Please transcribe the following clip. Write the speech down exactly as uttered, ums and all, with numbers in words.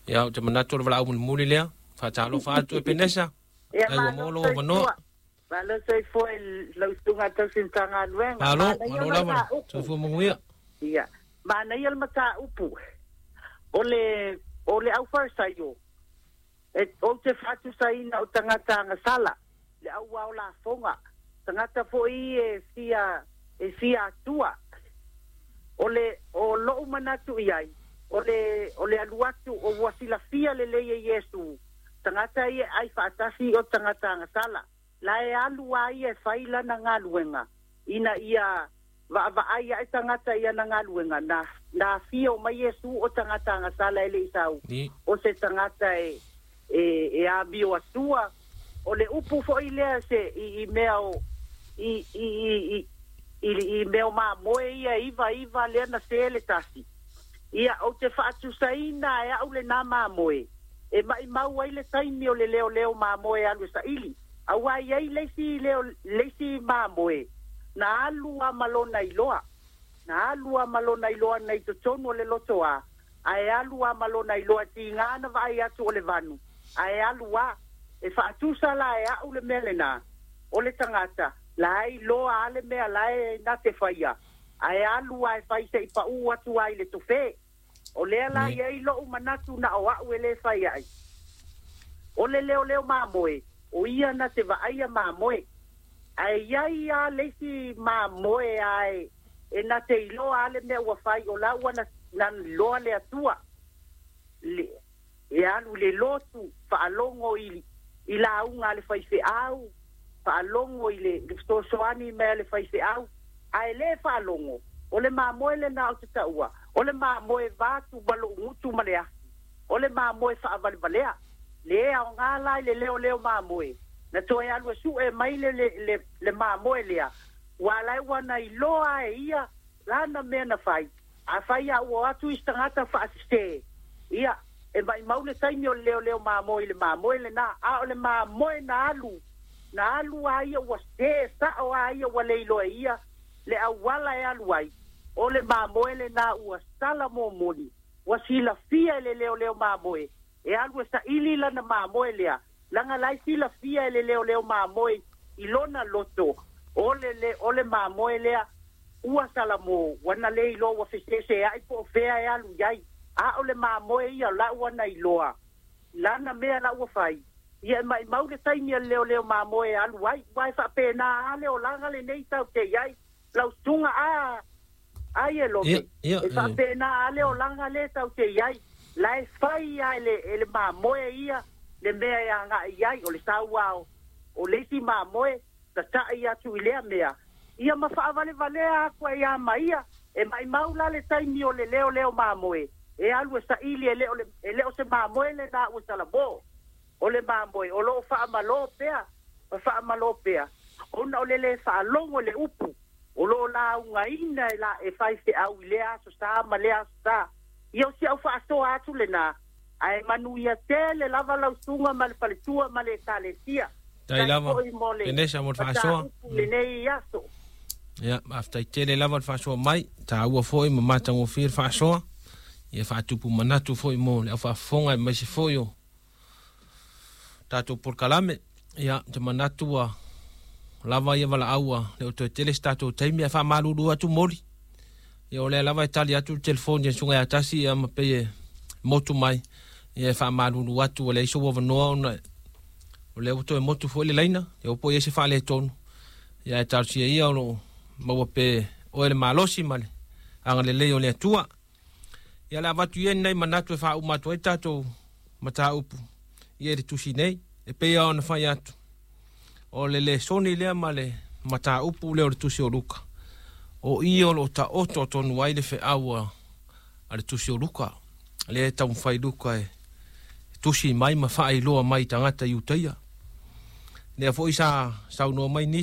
Ia, ou te manatu o le valaau mulimuli lea. Faatalofa atu e Penesa. Ia Ai ua malo maua lou avanoa. soifua. Malo soifua i lau susuga tausi Matagaluega. Malo, Manaia malo le lava. mataupu. Soifua manuia. Ia, manaia le mataupu. O le o le aufarisaio e ou te faatusaina o tagata agasala, le auao lafoga, tagata foi e fia e fia atua. O le o lou manatu i ai, o le o le alu atu o ua silafia lelei e Iesu, tagata ia ai faatasi o tagata agasala. La e alu a ia e fai lana galuega, ina ia vaavaai ae tagata i ana galuega na na afio mai Iesu o tagata agasala e le i sau. Ni. O se tagata e e e amio atua. O le upu foi lea se i, i mea o i i i i i, i mea o mamoe ia iva iva lea na se le tasi. Ia ou te faatusaina e au lenā mamoe. E mai mau ai le taimi o le leo leo mamoe alu e saili. Auā i ai le isi leo le isi mamoe. Na alu a malona iloa. Na alu a malona iloa na i totonu o le loto a. Ae alu a malona iloa tiga na vaai atu o le vanu. Ae alu a e faatusa la e au le mea lenā. O le tagata la e iloa a le mea la e na te faia. Ae alu a e fai se i pau atu ai le tofe. O lea la Ni. i ai lou manatu na o au e le fai ai. O le leo leo mamoe. O ia na te vaaia mamoe. Ae iai a le isi mamoe ae e na te iloa a le mea ua fai o la ua na, na iloa le atua. Le, e alu le lotu faalogo i, i lauga a le faifeau, faalogo i le, le fesoasoani mai a le faifeau, ae le faalogo. O le mamoe lenā o te taua, o le mamoe vatu ma lou gutu ma le afi. O le mamoe faavalevalea. Le aoga la i le leoleo mamoe. Na toe alu e sue mai le, le, le, le mamoe lea. Ua lai ua na iloa e ia lana mea na fai. A fai a ua atu i se tagata faasese. Ia, e maumau le taimi o le leoleo mamoe i le mamoe lenā. A o le mamoe na alu, na alu a ia ua se sao a ia ua le iloa e ia le auala e alu ai. O le mamoe lenā ua sala momoli. Ua silafia e le leoleo mamoe. E alu e saili lana mamoe lea. Laga la e silafia e le leoleo mamoe i lona loto. O le, le, o le mamoe lea ua salamo, ua na le iloa ua fesese ai po o fea e alu i ai. A o le mamoe ia la ua na iloa. Lana mea la ua fai. Ia e maumau le taimi a le leoleo mamoe e alu ai. Ua e faapena a le olaga lenei tau te i ai. Lau susuga a ai e lope. Ia, ia, E e. faapena a le olaga le tau te i ai. La e fai a e le, e le mamoe ia le mea e agai i ai. O le sauao o le isi mamoe tatai atu i lea mea. Ia ma faavalevalea aku ai ia maia. E maumau la le taimi o le leoleo mamoe. E alu e saili e le o, le, e le o se mamoe lenā ua salamo. O le mamoe o loo faamalō pea. Ma faamalō pea. Ona o le le faalogo le upu. O loo laugaina e la e fai feau i lea aso sa ma lea aso sa. Ia o si au faasoa atu lenā. Ae manuia tele lava lau susuga ma le faletua ma le ekalesia. Tai lava. Foi mo le Penesa mo le faasoa. mataupu lenei aso. Ia, faafetai tele lava le faasoa mai. Taua foi ma matagofie le faasoa. Ia faatupu manatu foi mo le aufaafofoga aemaise foi o tatou polokalame. Ia, te manatu ua lava ia valaau a le o toe tele se tatou taimi ae faamalulu atu moli. Ia o lea lava e tali atu le telefoni e susuga ia tasi ia ma pei e motu mai. Ia e faamalulu atu ua leai sou avanoa ona o lea ua toe motu foi le laina. Ia ua po i ai se faaletonu. Ia e talosia ia o loo maua pe oe le malosi ma le agalelei o le Atua. Ia le avatu ia nei manatu e faauma atu ai tatou mataupu ia i le tusi nei. E pei lava ona fai atu. O le lesoni lea ma le mataupu lea o le tusi o Luka. O i o loo taoto tonu ai le feau a, a le tusi o Luka. Lea e taumafai Luka e tusi mai ma faailoa mai i tagata Iutaia. Lea foi sa saunoa mai nisi